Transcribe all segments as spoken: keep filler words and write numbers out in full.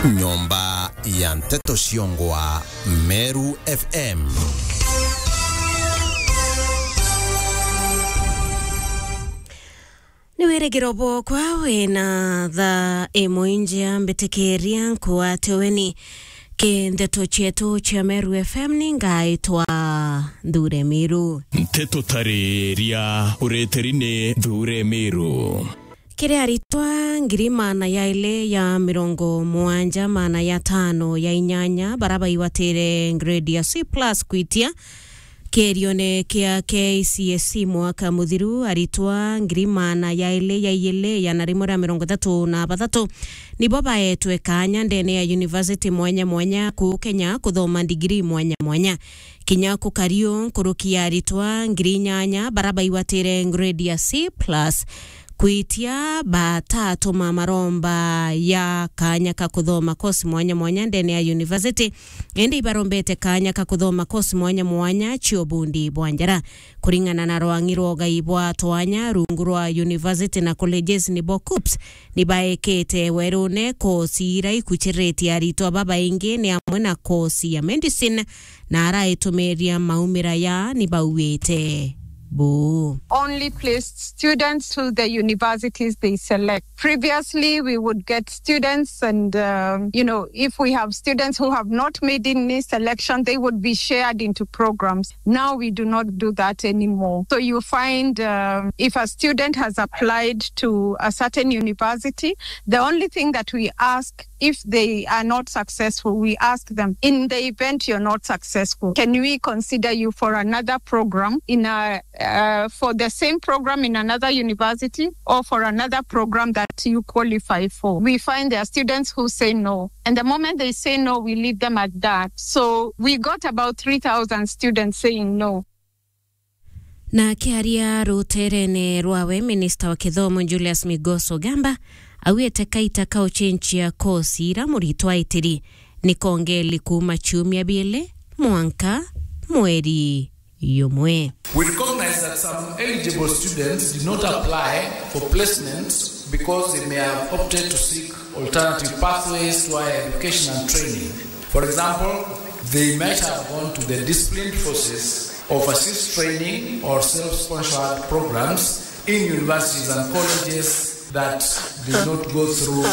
Nyomba ya nteto ciongwa Meru F M. Ni wirigiro bwokwa wina thaa imwe injia mbitikiria nkwate weni ki nteto cietu cia Meru F M ni ngaitwa Nthure Miru. Nteto tariria ureteri ni Nthure Miru. Kiri aritwa ngiri maana yaili ya mirongo mugwanja maana ya tano ya inyanya bara baigwatire grade ya C plus kwitia kirione kia K C S E mwaka muthiru, aritwa ngiri maana yaili ya iili igana rimwe ria mirongo ithatu na bathatu nibo baetwe kaanya ndene ya university mwanya mwanya kuu Kenya kuthoma ndigiri mwanya mwanya. Kinya kukari uu, nkuruki ya aritwa ngiri inyanya bara baigwatire grade ya C plus kwitia batatuma maromba ya kaanya ka kuthoma kosi mwanya mwanya ndene ya university, indi ibarombete kaanya ka kuthoma kosi mwanya mwanya cia ubundi bwa njara. Kuringana na rwang'i rwa ugai bwa twanya rungu rwa university na colleges nibo KUPPS, ni baekete werune kosi ira ikuchiritie aritwa babaingi ni amwe na kosi ya medicine, na araitumiria maumira ya ni bauite buu. Only placed students to the universities they select. Previously, we would get students and, um, you know, if we have students who have not made any selection, they would be shared into programs. Now we do not do that anymore. So you find, um, if a student has applied to a certain university, the only thing that we ask, if they are not successful, we ask them, "In the event you're not successful, can we consider you for another program in a, uh, for the same program in another university or for another program that you qualify for?" We find there are students who say no. And the moment they say no, we leave them at that. So we got about three thousand students saying no. Na akiaria ruterene rwawe, minista wa kithomo Julius Migos Ogamba augite kaita ka ucenjia kosi ira muritwa aitiri ni kongeli kuuma ciumia biili mwanka mweri yumwe. We recognize that some eligible students did not apply for placement because they may have opted to seek alternative pathways to higher education and training. For example, they might have gone to the disciplined forces, overseas training, or self-sponsored programs in universities and colleges that did not go through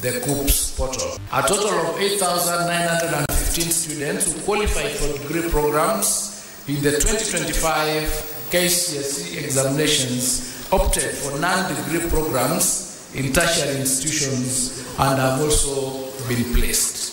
the KUPPS portal. A total of eight thousand nine hundred and fifteen students who qualified for degree programs in the twenty twenty-five K C S E examinations opted for non-degree programs in tertiary institutions and have also been placed.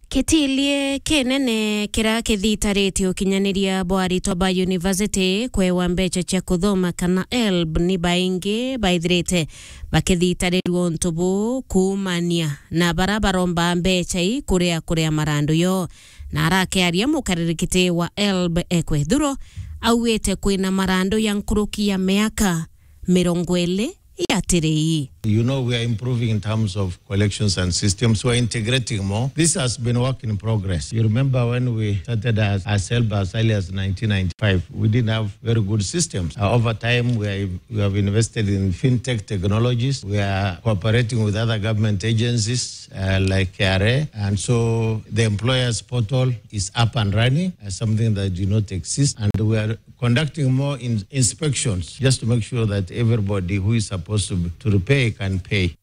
Kitilie kinene kiria kithitaritie ukinyaniria bwa aritwa ba university kwewa mbeca cia kuthoma kana helb ni baingi baithirite bakithitarirua untu buu kuumania na bara baromba mbeca ii kuria kuria marandu yo. Na arakiaria mukariri kiti wa helb Ekwe Thuro augite kwina marandu ya nkuruki ya miaka mirongo iri yatiri ii. You know, we are improving in terms of collections and systems. We are integrating more. This has been work in progress. You remember when we started as, as helb as early as nineteen ninety-five, we didn't have very good systems. Uh, over time, we are, we have invested in fintech technologies. We are cooperating with other government agencies, uh, like K R A. And so the employers portal is up and running, uh, something that did not exist. And we are conducting more in-, inspections just to make sure that everybody who is supposed to, to repay can pay.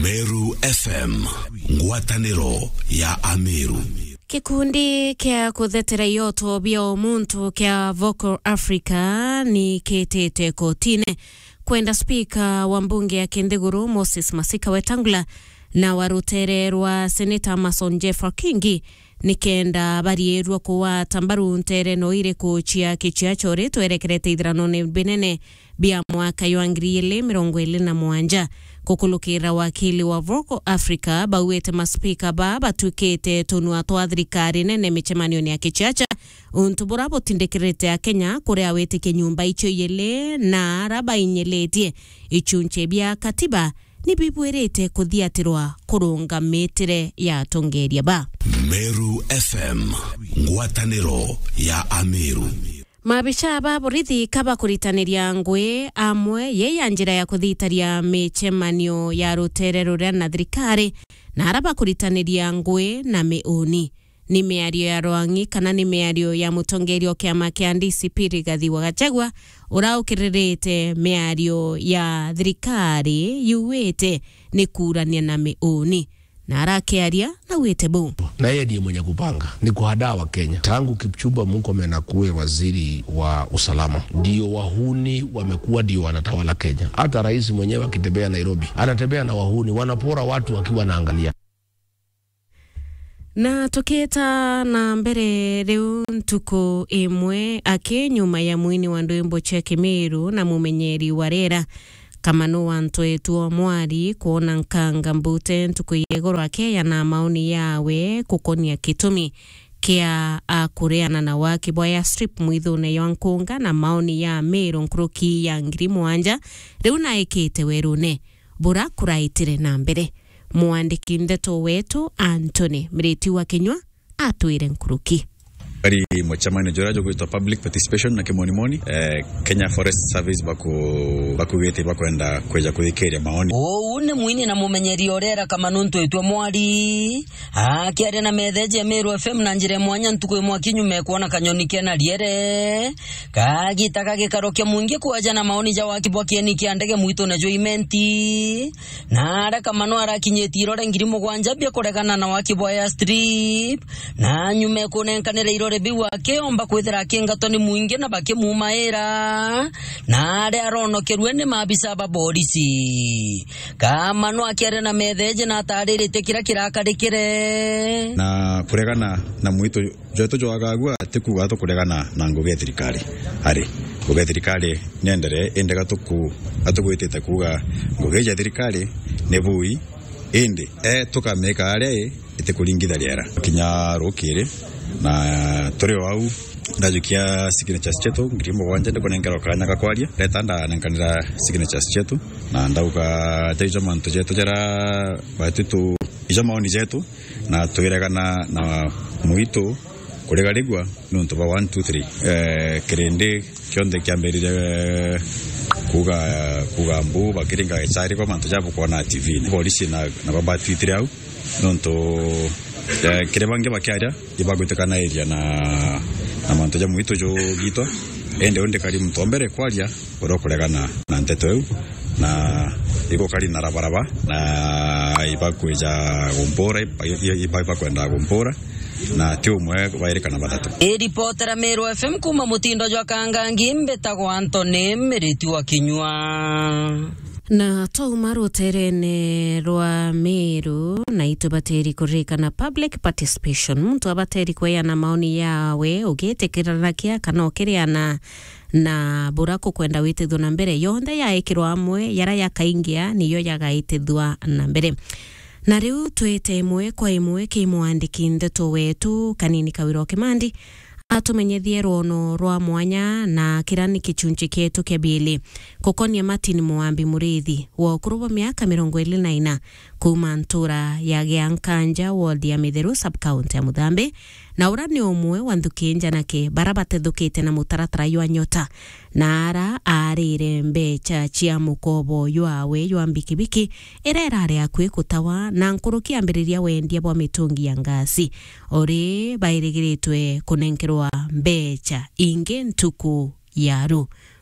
Meru F M, ngwataniro ya Ameru. Gikundi kia kuthetera ioto bia umuntu kia Vocal Africa ni kitite kotine kwenda spika wa mbunge ya kinthiguru Moses Masika Wetangula na wa rutere rwa seneta Amason Jeffer Kingi nikenda bariirua kugwata mbaru nteereno iriku cia kiciaca uria twerekerete ithiranone binene bia mwaka jwa ngiri igiri mirongo iri na mugwanja. Gukulukira wakili wa Vocal Africa, bauite maspika ba batuikite tunua twa thirikari nene micemanione ya kiciaca, untu bura butindikirite Akenya kuria witikia nyumba icio ijiri na ara bainyilitie ichunchi bia katiba ni bibwirite kuthiatirwa kurungamitire ya atongeria ba. Meru F M, ngwataniro ya Ameru. Maabisa ba borithi ka bakuritaniria ngui amwe ye ya njira ya kuthitaria micemanio ya rutere ruria na thirikari, na ara bakuritaniria ngui na miuni. Ni miario ya rwang'i kana ni miario ya mutongeria o kiama kia D C P Rigathi wa Gachagua, ura ukiririte miario ya thirikari yuwite ni kuurania na miuni. Na arakiaria, naugite buu. Na yeye ndiye mwenye kupanga, ni kuhadaa wa Kenya. Tangu Kipchumba Murkomen akuwe waziri wa usalama, ndio wahuni wamekuwa ndio wanatawala Kenya. Hata rais mwenyewe akitembea Nairobi, anatembea na wahuni, wanapora watu wakiwa naangalia. Na tukiita na mbere, riu ntuku imwe aki nyuma ya mwini wa ndwimbo cia Kimiru na mumenyeri wa riera, Kamanu wa Ntwetwa Mwari, kwona nkanga mbute ntuku ya igoro akeya na maoni yawe gukonia gitumi kia a kureana na waki bwa airstrip mwithune ywa Nkunga na maoni ya Miru nkuruki ya ngiri mwanja, riu naikite werune bura kuraitire na mbere. Mwandiki ndeto wetu Anthony Miriti wa Kinyua atwire nkuruki. Ari mucemanio juria jugwitwa public participation na kimonimoni, eh, Kenya Forest Service baku-, bakugite bakwenda kweja kuthikiria maoni. Uu ni mwini na mumenyeri o riera Kamanu Ntwetwa Mwari akiaria na metheji ya Meru F M na njira ya mwanya ntuku imwe aki nyuma ya kwona kanyoni kena riere kagita kagikarokia mwingi kwaja na maoni ja waki bwa kieni kia ndege mwitune jwa Imenti. Na aria Kamanu arakinyitie irore ngiri mugwanja bia kuregana na waki bwa airstrip, na nyuma ya kunenkanira irore biu akiomba kwithira akingatwa ni mwingi na bakimumaira, na aria aronokerue ni maabisa ba borisi. Kamanu akiaria na metheji na atariritie kiria kirakarikire. Na kuregana na mwitu jwetu jwagagua ti kuuga tukuregana na ngugi ya thirikari. Ari, ngugi ya thirikari nienderee, indi gatuku-, gatugwitite kuuga ngugi ya thirikari ni bui, indi, eh, tukamika aria i, itikuringitha riera. Kinya rukiri, na turi o au, ndajukia signatures cietu ngiri mugwanja, ndikunenkerwa kanya ga kwaria. Ndeta ndanenkanira signatures cietu, na ndauga, ja ijo mantu jetu jara batitu, ijo maoni jetu, na twiregana na mwitu kurigarigwa niuntu bwa one, two, three. Eh, kirindi kionthe kiambirire kuuga, kuuga mbu, bakiringa gicari kwa mantu ja bukwona T V-ini. Borisi na, na babatwitire au, niuntu, eh, kiri bangi bakiaria, ibagwitikanairiria na, na mantu ja mwitu jugitwa. Indi u ndikari muntu wa mbere kwaria uria ukuregana na nteto iu, na igukari na rabaraba, na ibakwija gumpura, iba-, iba-, iba-, ibakwenda gumpura, na ti umwe, bairi kana bathatu. Iripotera Meru F M kuuma mutindo jwa Kangangi, mbitagwa Anthony Miriti wa Kinyua. Na twauma ruterene rwa Meru, na itubatiri kuririkana public participation. Muntu abatiri kweana maoni yawe, ugitikiranakia kana ukiriana na bura kukwenda witithwe na mbere. Yonthe yaikirwa amwe, yara yakaingia, niyo yagaitithwa na mbere. Na riu twite imwe kwa imwe ki mwandiki ndeto wetu, Kanini Kawira o Kimandi, atumenyethie rwono rwa mwanya na kira ni kichunchi kietu kia biili, gukonia Martin Mwambi Muriithi, wa ukuru bwa miaka mirongo iri na ina, kuuma ntura ya Giankanja, ward ya Mitheru, sub-county ya Muthambi, na ura ni umwe wa nthuki njanake bara batethukite na mutaratara jwa Nyota, na ara aarire mbecha cia mukobo jwawe jwa mbikibiki, ira irari akui kutawa, na nkuruki ambiriria wendia bwa mitungi ya ngasi, uri bairigiritwe kunenkerwa mbecha ingi ntuku ya ru.